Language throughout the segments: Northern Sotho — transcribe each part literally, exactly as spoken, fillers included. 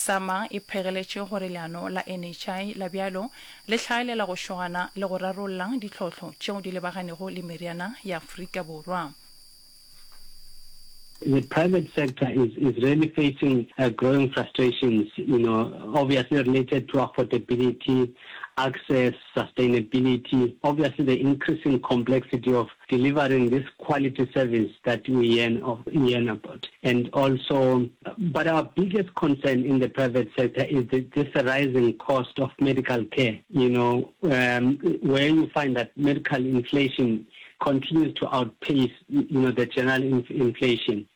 SAMA e phegeletše gore leano la N H I la bjalo le hlaelela go šogana le go rarolla ditlhohlo tšeo di lebaganego le meriana ya Afrika Borwa. The private sector is, is really facing uh, growing frustrations, you know, obviously related to affordability, access, sustainability, obviously the increasing complexity of delivering this quality service that we yearn, of, yearn about. And also, but our biggest concern in the private sector is the, this rising cost of medical care, you know, um, where you find that medical inflation continues to outpace, you know, the general inf inflation.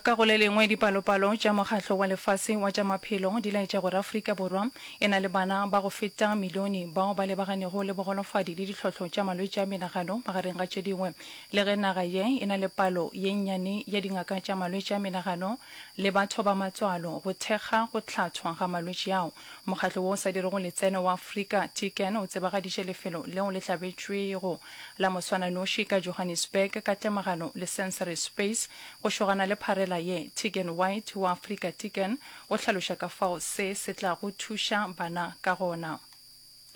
Ka go le lengwe, dipalopalo tša Mokgatlo wa Lefase wa tša Maphelo di laetša gore Afrika Borwa e na le bana ba go feta milione bao ba lebaganego le bogolofadi le ditlhohlo tša malwetši a menagano magareng ga tše dingwe. Le ge naga ye e na le palo ye nnyane ya dingaka tša malwetši a menagano le batho ba matswalo go thekga go hlathwa ga malwetši ao, mokgatlo wo o sa dirego letseno wa Afrika Tikkun o tsebagaditše lefelo leo le hlabetšwego la moswananoši ka Johannesburg ka tlemagano le Sensory Space go šogana le pharela ye. Tegan White wa Afrika Tikkun o hlaloša ka fao se se tlago thuša bana ka gona.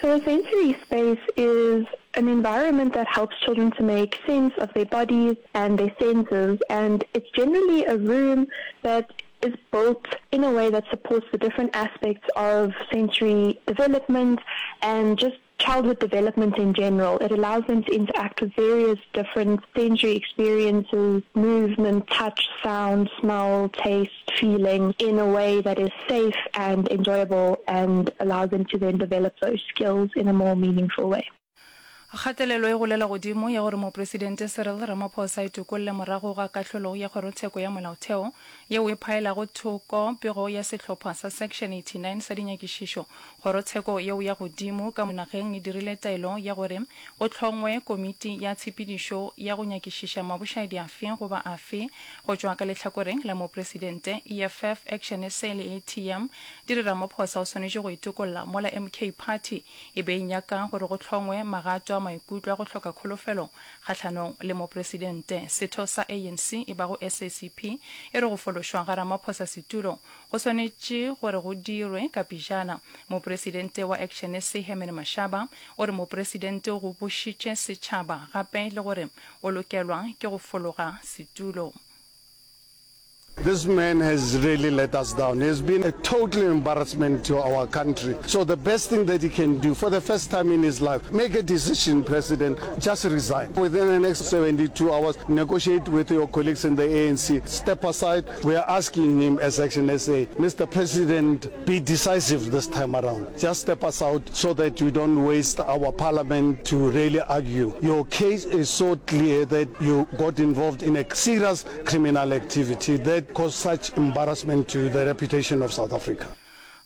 So a sensory space is an environment that helps children to make sense of their bodies and their senses, and it's generally a room that is built in a way that supports the different aspects of sensory development and just childhood development in general. It allows them to interact with various different sensory experiences, movement, touch, sound, smell, taste, feeling, in a way that is safe and enjoyable and allows them to then develop those skills in a more meaningful way. Kgatelelo e golela godimo ya gore Mopresidente Cyril Ramaphosa a itokolle morago ga kahlolo ya Kgorotsheko ya Molaotheo yeo e phaelago thoko pego ya sehlopha sa Section eighty-nine sa dinyakišišo. Kgorotsheko yeo ya godimo ka nageng e dirile taelo ya gore go hlongwe komiti ya tshepedišo ya go nyakišiša mabošaedi afe goba afe go tšwa ka lehlakoreng la Mopresidente. E F F, Action S A le A T M di re Ramaphosa o swanetše go itokolla, mola M K Party e be e nyaka gore go hlongwe magato a maikutlo a go hloka kholofelo kgahlanong le mopresidente. Setho sa A N C e bago S A C P e re go fološwa ga Ramaphosa setulo go swanetše gore go dirwe ka pejana. Mopresidente wa Action S A Herman Mashaba o re mopresidente o gobošitše setšhaba gape le gore o lokelwa ke go fologa setulo. This man has really let us down. He has been a total embarrassment to our country. So the best thing that he can do for the first time in his life, make a decision, President, just resign. Within the next seventy-two hours, negotiate with your colleagues in the A N C, step aside. We are asking him as Action S A, Mister President, be decisive this time around. Just step us out so that you don't waste our parliament to really argue. Your case is so clear that you got involved in a serious criminal activity that caused such embarrassment to the reputation of South Africa.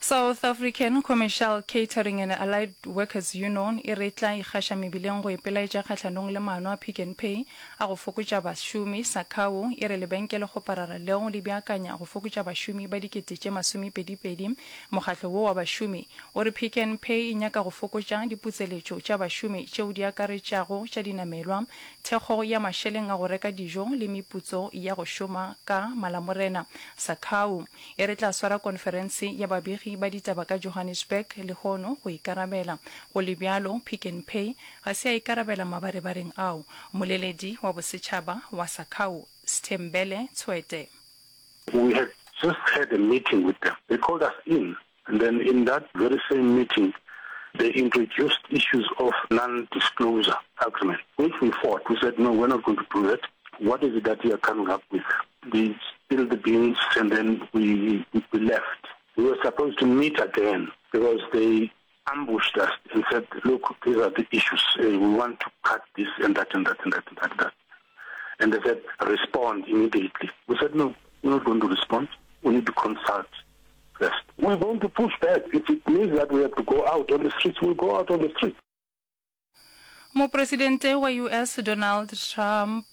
South African Commercial Catering and Allied Workers Union e re tla ikgaša mebileng go ipelaetša kgahlanong le maano a Pick n Pay a go fokotša bašomi. SACCAWU e re lebenkelekgoparara leo le beakanya go fokotša bašomi ba dikete tše masomepedipedi. Mokgatlo wo wa bašomi o re Pick n Pay e nyaka go fokotša diputseletšo tša bašomi tšeo di akaretšago tša dinamelwa, thekgo ya mašeleng a go reka dijo le meputso ya go šoma ka Malamorena. SACCAWU e re tla swara konferense ya babegi ba ditaba ka Johannesburg lehono go ikarabela. Go le bjalo, Pick n Pay ga se ya ikarabela mabarebareng ao. Moleledi wa bosetšhaba wa SACCAWU, Sthembele Tshwete. We had just had a meeting with them. They called us in, and then in that very same meeting, they introduced issues of non-disclosure agreement, which we fought. We said, no, we're not going to do that. What is it that you are coming up with? They spilled the beans, and then we, we left. We were supposed to meet again because they ambushed us and said, look, these are the issues. Uh, we want to cut this and that and that and that and that and that. And they said, respond immediately. We said, no, we're not going to respond. We need to consult first. We're going to push back. If it means that we have to go out on the streets, we'll go out on the streets. Mopresidente wa U S Donald Trump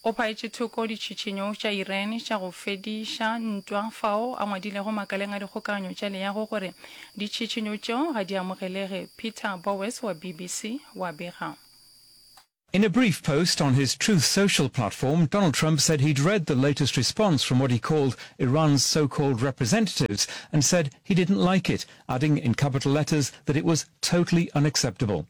o phaetše thoko ditšhišinyo tša Iran tša go fediša ntwa fao a ngwadilego makaleng a dikgokaganyo tša leago gore ditšhišinyo tšeo ga di amogelege. Peter Bowes wa B B C wa bega. In a brief post on his Truth Social platform, Donald Trump said he'd read the latest response from what he called Iran's so-called representatives and said he didn't like it, adding in capital letters that it was totally unacceptable.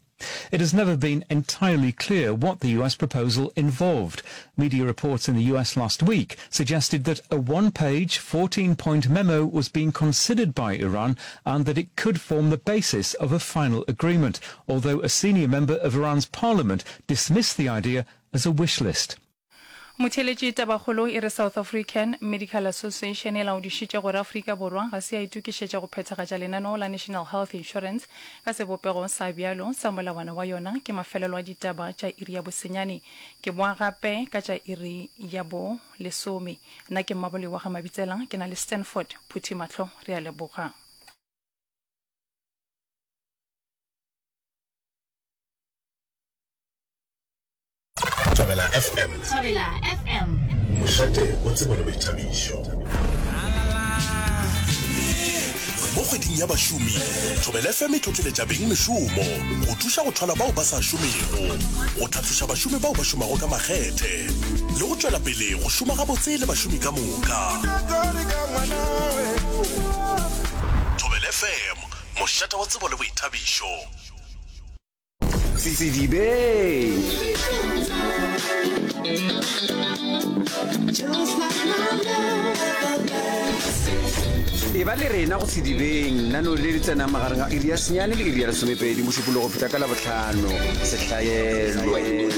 It has never been entirely clear what the U S proposal involved. Media reports in the U S last week suggested that a one-page, fourteen-point memo was being considered by Iran and that it could form the basis of a final agreement, although a senior member of Iran's parliament dismissed the idea as a wish list. Motheeletši tabakgolo e re South African Medical Association e laodišitše gore Afrika Borwa ga se ya itokišetša go phethagatša lenaneo la National Health Insurance ka sebopego sa bjalo sa molawana wa yona. Ke mafelelo a ditaba tša iri ya bosenyane. Ke boa gape ka tša iri ya bo lesome. Nna ke Mmaboloi wa ga Mabitsela, ke na le Stanford Phuthi Mahlo. Re a leboga. Thobela F M. Thobela F M. Mošate wa tsebo le boithabišo. Mo kgweding ya bašomi, Thobela F M e tlotleletša beng mešomo go thuša go thwala bao ba sa šomego, go tlhatloša bašomi bao ba šomago ka makgethe, le go tšwela pele go šoma gabotse le bašomi ka moka. Thobela F M, mošate wa tsebo le boithabišo. Sedibeng. E ba le rena go Sedibeng, nano le le tsenang magareng ga iri ya senyane le iri ya lesomepedi Mošupologo go fihla ka Labohlano. Sehlaelwe.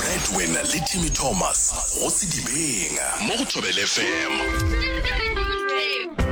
Bradwin le Timmy Thomas go Sedibeng mo go Thobela F M.